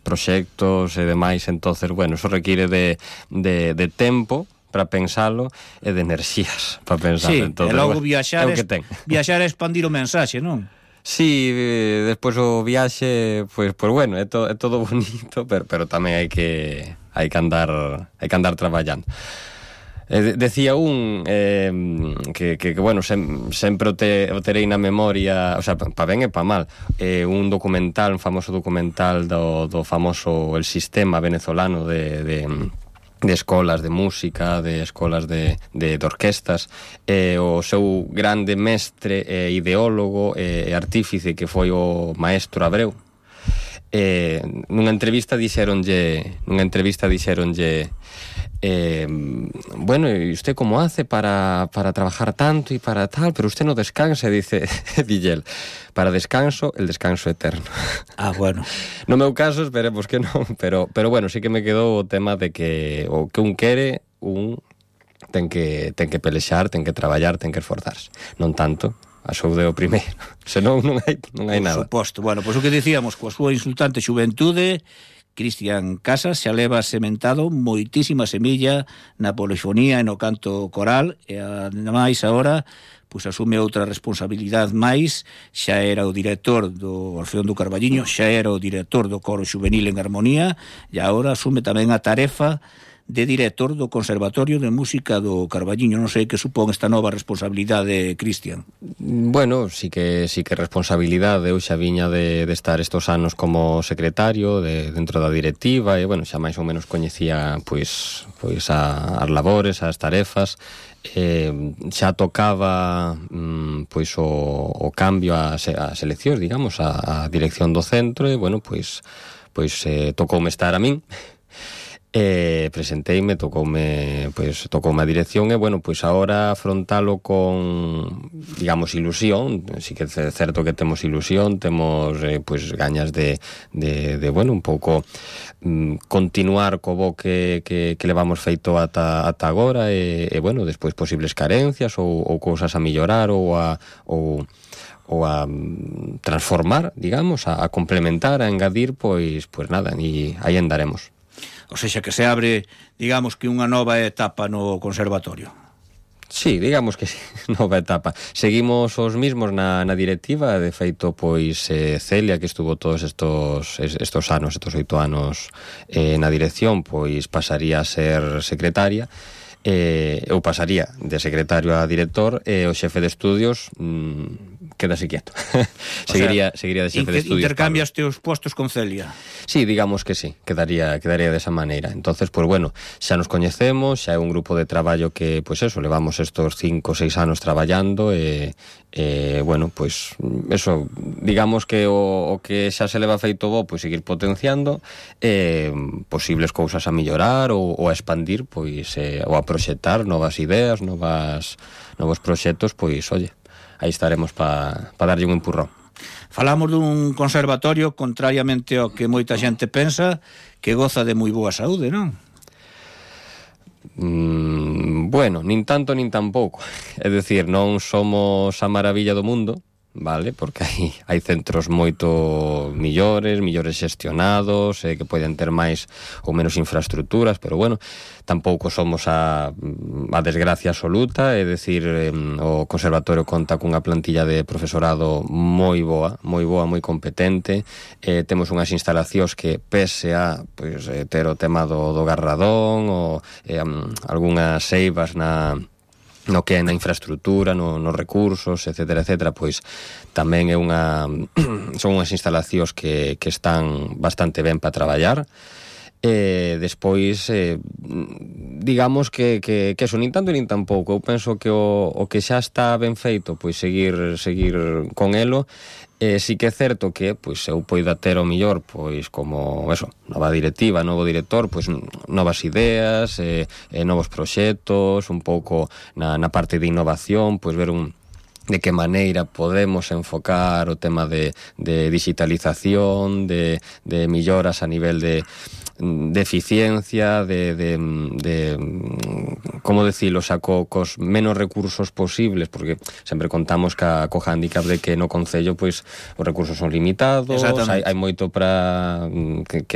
proxectos e demais, entonces, bueno, eso require de tempo para pensalo e de enerxías para pensalo. Sí, entonces, e logo bueno, viaxar é expandir o mensaxe, non? Sí, despois o viaxe, pues bueno, é todo bonito, pero tamén hai que andar traballando. Decía que bueno, sempre o terei na memoria, o sea, pa ben e pa mal, un famoso documental do famoso El Sistema venezolano de escolas de música, de escolas de orquestas, o seu grande mestre, ideólogo e artífice que foi o maestro Abreu. Nunha entrevista dixeronlle bueno, ¿y usted cómo hace para trabajar tanto y para tal? Pero usted no descansa, dice Dillel. Para descanso, el descanso eterno. Bueno. No meu caso, esperemos que non, pero bueno, sí que me quedou o tema de que o que un quere, ten que pelexar, ten que traballar, ten que esforzarse. Non tanto a saúde o primeiro, senón non hai nada. Por suposto. Bueno, pois o que dicíamos, coa súa insultante xuventude, Cristian Casas xa leva sementado moitísima semilla na polifonía e no canto coral, e ademais agora pois asume outra responsabilidade máis. Xa era o director do Orfeón do Carballiño, xa era o director do Coro Xuvenil en Armonía, e agora asume tamén a tarefa de director do Conservatorio de Música do Carballiño. Non sei que supón esta nova responsabilidade, Cristian. Bueno, sí que responsabilidade. Eu xa viña de estar estos anos como secretario dentro da directiva, e bueno, xa máis ou menos coñecía pois as labores, as tarefas. Xa tocaba pois o cambio a seleccións, digamos, a dirección do centro, e bueno, pois tocoume estar a min. Presenteime, tocoume a dirección, e bueno, pois agora afrontalo con, digamos, ilusión. Si que é certo que temos ilusión, temos pois gañas de bueno, un pouco continuar co bo que levamos feito ata agora, e bueno, despois posibles carencias ou cousas a mellorar ou a transformar, digamos, a complementar, a engadir, pois nada, e aí andaremos. O sexa, que se abre, digamos, que unha nova etapa no conservatorio. Sí, digamos que sí, nova etapa. Seguimos os mismos na directiva. De feito, pois Celia, que estuvo todos estos anos, estos 8 anos na dirección, pois pasaría a ser secretaria. Eu pasaría de secretario a director, e o xefe de estudios quedase quieto. seguiría de xefe de estudios. Intercambias teus postos con Celia? Sí, digamos que sí, quedaría desa maneira. Entonces, pues bueno, xa nos coñecemos, xa é un grupo de traballo que, pues eso, levamos estos 5 ou 6 anos traballando, e bueno, pues eso, digamos que o que xa se leva feito bo, pues seguir potenciando, posibles cousas a mellorar ou a expandir, pois ou a proxectar novas ideas, novos proxectos, pois, oye, aí estaremos para darlle un empurrón. Falamos dun conservatorio, contrariamente ao que moita xente pensa, que goza de moi boa saúde, non? Bueno, nin tanto nin tampouco. É dicir, non somos a maravilla do mundo, vale? Porque hai centros moito millores xestionados, que poden ter máis ou menos infraestructuras, pero bueno, tampouco somos a desgracia absoluta. É dicir, o conservatorio conta cunha plantilla de profesorado moi boa, moi competente. Temos unhas instalacións que, pese a ter o tema do garradón ou algunhas seivas no que é na infraestructura, nos recursos, etcétera, pois tamén son unhas instalacións que están bastante ben para traballar. Despois, digamos que eso, nin tanto nin tampouco. Eu penso que o que xa está ben feito, pois seguir con elo. Sí que é certo que pois eu poida ter o mellor, pois como eso, nova directiva, novo director, pois novas ideas, novos proxectos, un pouco na parte de innovación, pois ver de que maneira podemos enfocar o tema de digitalización, de melloras a nivel de eficiencia, de como decirlo, cos menos recursos posibles, porque sempre contamos co hándicap de que no concello pois os recursos son limitados, hai moito para que